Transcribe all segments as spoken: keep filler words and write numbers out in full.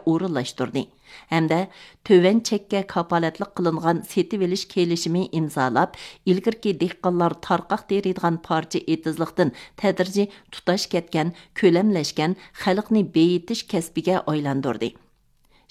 ئورۇنلاشتۇردى ھەمدە تۆۋەن چەككە كاپالەتلىك قىلىنغان سېتىۋېلىش كېلىشىمى ئىمزالاپ، ئىلگىرىكى دېھقانلار تارقاق تېرىيدىغان پارچە ئېتىزلىقتىن تەدرىجىي تۇتاش كەتكەن، كۆلەملەشكەن خەلقنى بېيىتىش كەسپىگە ئايلاندۇردى.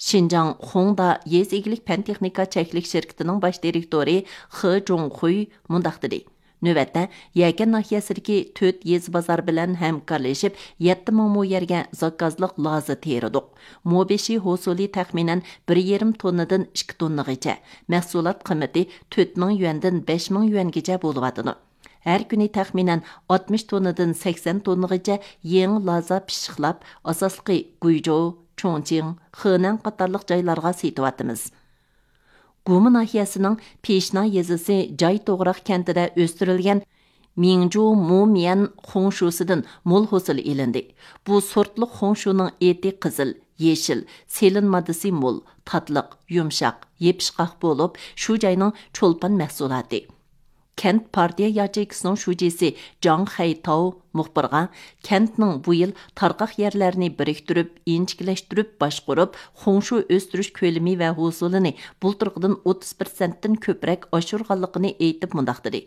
شىنجاڭ خۇڭدا يېزا ئىگىلىك پەن تېخنىكا چەكلىك شىركىتىنىڭ باش دىرېكتورى خې جۇڭخۇي مۇنداق دېدى: نۆۋەتتە يەكەن ناھىيەسىدىكى تۆت يېزا بازار بىلەن ھەمكارلىشىپ، يەتتە مىڭ مو يەرگە زاكازلىق لازا تېرىدۇق. مو بېشى ھوسۇلى تەخمىنەن بىر يېرىم توننىدىن ئىككى توننىغىچە، مەھسۇلات قىممىتى تۆت مىڭ يۈەندىن بەش مىڭ يۈەنگىچە بولۇۋاتىدۇ. ھەر كۈنى تەخمىنەن ئاتمىش توننىدىن سەكسەن توننىغىچە يېڭى لازا پىششىقلاپ، ئاساسلىقى گۇيجۇ، چۇڭچىڭ، خېنەن قاتارلىق جايلارغا سېتىۋاتىمىز. گۇما ناھىيەسىنىڭ پىشنا يېزىسى جاي توغراق كەنتىدە ئۆستۈرۈلگەن مىڭجۇ مۇميەن خۇڭشۇسىدىن مول ھوسۇل ئېلىندى. بۇ سورتلۇق خۇڭشۇنىڭ ئېتى قىزىل، يېشىل، سېلىن ماددىسى مول، تاتلىق، يۇمشاق، يېپىشقاق بولۇپ، شۇ جاينىڭ چولپان مەھسۇلاتى. كەنت پارتىيە ياچېيكىسىنىڭ شۇجىسى جاڭ خەيتاۋ مۇخبىرغا، كەنتنىڭ بۇ يىل تارقاق يەرلەرنى بىرىكتۈرۈپ، ئىنچىكىلەشتۈرۈپ باشقۇرۇپ، خۇڭشۇ ئۆستۈرۈش كۆلىمى ۋە ھوسۇلىنى بۇلتۇرقىدىن ئوتتۇز پىرسەنتتىن كۆپرەك ئاشۇرغانلىقىنى ئېيتىپ مۇنداق دېدى: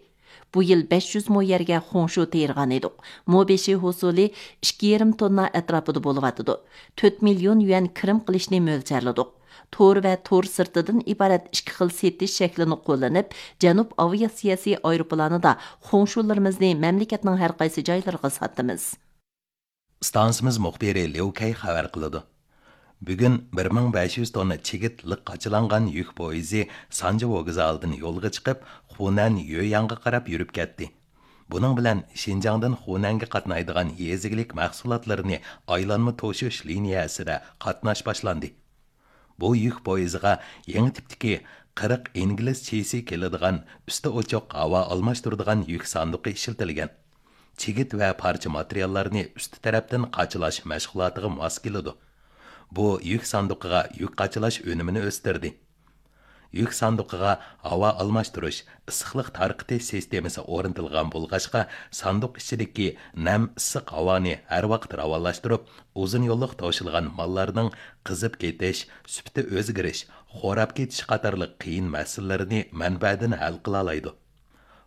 بۇ يىل بەش يۈز مو يەرگە خۇڭشۇ تېرىغانىدۇق. مو بېشى ھوسۇلى ئىككى يېرىم توننا ئەتراپىدا بولۇۋاتىدۇ. تۆت مىليون يۈەن كىرىم قىلىشنى مۆلچەرلىدۇق. تور ۋە تور سىرتىدىن ئىبارەت ئىككى خىل سېتىش شەكلىنى قوللىنىپ، جەنۇب ئاۋىئاتسىيەسى ئايروپىلانىدا خۇڭشۇلىرىمىزنى مەملىكەتنىڭ ھەر قايسى جايلىرىغا ساتىمىز. ئىستانسىمىز مۇخبىرى ليۇ كەي خەۋەر قىلىدۇ. بۈگۈن بىر مىڭ بەش يۈز توننا چىگىت لىق قاچىلانغان يۈك پويىزى سانجى ۋوگزالىدىن يولغا چىقىپ، خۇنەن يۆيەنغا قاراپ يۈرۈپ كەتتى. بۇنىڭ بىلەن شىنجاڭدىن خۇنەنگە قاتنايدىغان يېزا ئىگىلىك مەھسۇلاتلىرىنى ئايلانما توشۇش لىنىيەسىدە قاتناش باشلاندى. بۇ يۈك پويىزىغا يېڭى تىپتىكى قىرىق ئىنگلىز چىسى كېلىدىغان ئۈستى ئوچۇق ھاۋا ئالماشتۇرىدىغان يۈك ساندۇقى ئىشلىتىلگەن. چىگىت ۋە پارچە ماتېرىياللارنى ئۈستى تەرەپتىن قاچىلاش مەشغۇلاتىغا ماس كېلىدۇ. بۇ يۈك ساندۇقىغا يۈك قاچىلاش ئۈنۈمىنى ئۆستۈردى. يۈك ساندۇقىغا ھاۋا ئالماشتۇرۇش، ئىسسىقلىق تارقىتىش سىستېمىسى ئورنىتىلغان بولغاچقا، ساندۇق ئىچىدىكى نەم ئىسسىق ھاۋانى ھەر ۋاقىت راۋانلاشتۇرۇپ، ئۇزۇن يوللۇق توشۇلغان ماللارنىڭ قىزىپ كېتىش، سۈپىتى ئۆزگىرىش، خوراپ كېتىش قاتارلىق قىيىن مەسىلىلىرىنى مەنبەدىن ھەل قىلالايدۇ.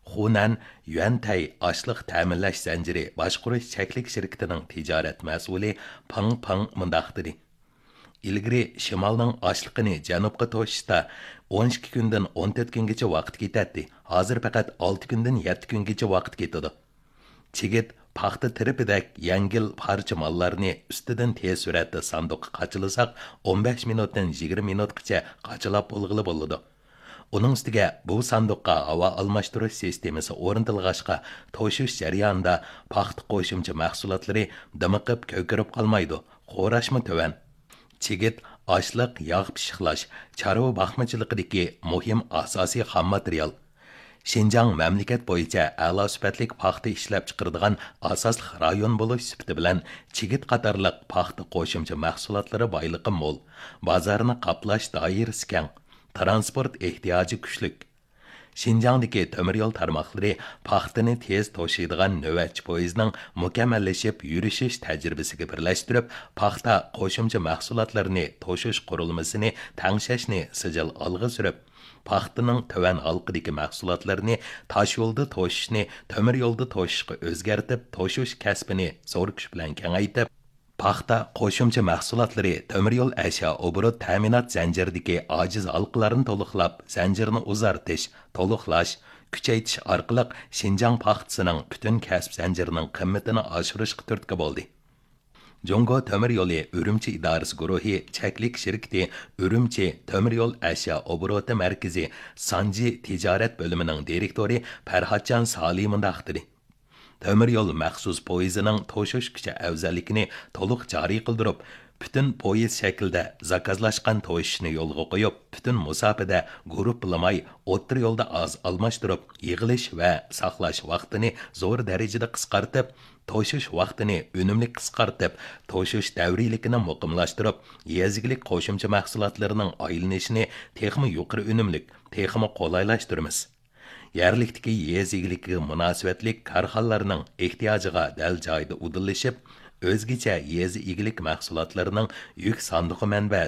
خۇنەن يۈەنتەي ئاشلىق تەمىنلەش زەنجىرى باشقۇرۇش چەكلىك شىركىتىنىڭ تىجارەت مەسئۇلى پېڭ پېڭ مۇنداق دېدى: ئىلگىرى شىمالنىڭ ئاشلىقىنى جەنۇبقا توشۇشتا ئون ئىككى كۈندىن ئون تۆت كۈنگىچە ۋاقىت كېتەتتى، ھازىر پەقەت ئالتە كۈندىن يەتتە كۈنگىچە ۋاقىت كېتىدۇ. چىگىت، پاختا تىرىپىدەك يەڭگىل پارچە ماللارنى ئۈستىدىن تېز سۈرئەتتە ساندۇققا قاچىلىساق، ئون بەش مىنۇتتىن يىگىرمە مىنۇتقىچە قاچىلاپ بولغىلى بولىدۇ. ئۇنىڭ ئۈستىگە بۇ ساندۇققا ھاۋا ئالماشتۇرۇش سىستېمىسى ئورنىتىلغاچقا، توشۇش جەريانىدا پاختا قوشۇمچە مەھسۇلاتلىرى دىمىقىپ كۆكىرىپ قالمايدۇ، خوراشمۇ تۆۋەن. چىگىت ئاشلىق، ياغ پىششىقلاش، چارۋا باقمىچىلىقىدىكى مۇھىم ئاساسىي خام ماتېرىيال. شىنجاڭ مەملىكەت بويىچە ئەلا سۈپەتلىك پاختا ئىشلەپچىقىرىدىغان ئاساسلىق رايون بولۇش سۈپىتى بىلەن، چىگىت قاتارلىق پاختا قوشۇمچە مەھسۇلاتلىرى بايلىقى مول، بازارنى قاپلاش دائىرىسى كەڭ، تىرانسپورت ئېھتىياجى كۈچلۈك. شىنجاڭدىكى تۆمۈر يول تارماقلىرى پاختىنى تېز توشۇيدىغان نۆۋەتچى پويىزنىڭ مۇكەممەللىشىپ يۈرۈشۈش تەجرىبىسىگە بىرلەشتۈرۈپ، پاختا قوشۇمچە مەھسۇلاتلىرىنى توشۇش قۇرۇلمىسىنى تەڭشەشنى سىجىل ئالغا سۈرۈپ، پاختىنىڭ تۆۋەن ھالقىدىكى مەھسۇلاتلىرىنى تاشيولدا توشۇشنى تۆمۈر يولدا توشۇشقا ئۆزگەرتىپ، توشۇش كەسپىنى زور كۈچ بىلەن كېڭەيتىپ، پاختا قوشۇمچە مەھسۇلاتلىرى تۆمۈر يول ئەشيا ئوبوروت تەمىنات زەنجىرىدىكى ئاجىز ھالقىلارنى تولۇقلاپ، زەنجىرنى ئۇزارتىش، تولۇقلاش، كۈچەيتىش ئارقىلىق شىنجاڭ پاختىسىنىڭ پۈتۈن كەسىپ زەنجىرىنىڭ قىممىتىنى ئاشۇرۇشقا تۈرتكە بولدى. جۇڭگو تۆمۈر يولى ئۈرۈمچى ئىدارىسى گۇرۇھى چەكلىك شىركىتى ئۈرۈمچى تۆمۈر يول ئەشيا ئوبوروتى مەركىزى سانجى تىجارەت بۆلۈمىنىڭ دىرېكتورى پەرھاتجان سالى مۇنداق دېدى: تۆمۈر يول مەخسۇس پويىزىنىڭ توشۇش كۈچى ئەۋزەللىكىنى تولۇق جارى قىلدۇرۇپ، پۈتۈن پويىز شەكلىدە زاكازلاشقان توشۇشنى يولغا قويۇپ، پۈتۈن مۇساپىدە گۇرۇپپىلىماي، ئوتتۇرا يولدا ئاز ئالماشتۇرۇپ، يىغىلىش ۋە ساقلاش ۋاقتىنى زور دەرىجىدە قىسقارتىپ، توشۇش ۋاقتىنى ئۈنۈملۈك قىسقارتىپ، توشۇش دەۋرىيلىكىنى مۇقىملاشتۇرۇپ، يېزا ئىگىلىك قوشۇمچە مەھسۇلاتلىرىنىڭ ئايلىنىشىنى تېخىمۇ يۇقىرى ئۈنۈملۈك، تېخىمۇ قولايلاشتۇرىمىز. يەرلىكتىكى يېزا ئىگىلىكىگە مۇناسىۋەتلىك كارخانىلارنىڭ ئېھتىياجىغا دەل جايىدا ئۇدۇللىشىپ، ئۆزگىچە يېزا ئىگىلىك مەھسۇلاتلىرىنىڭ يۈك ساندۇقى مەنبە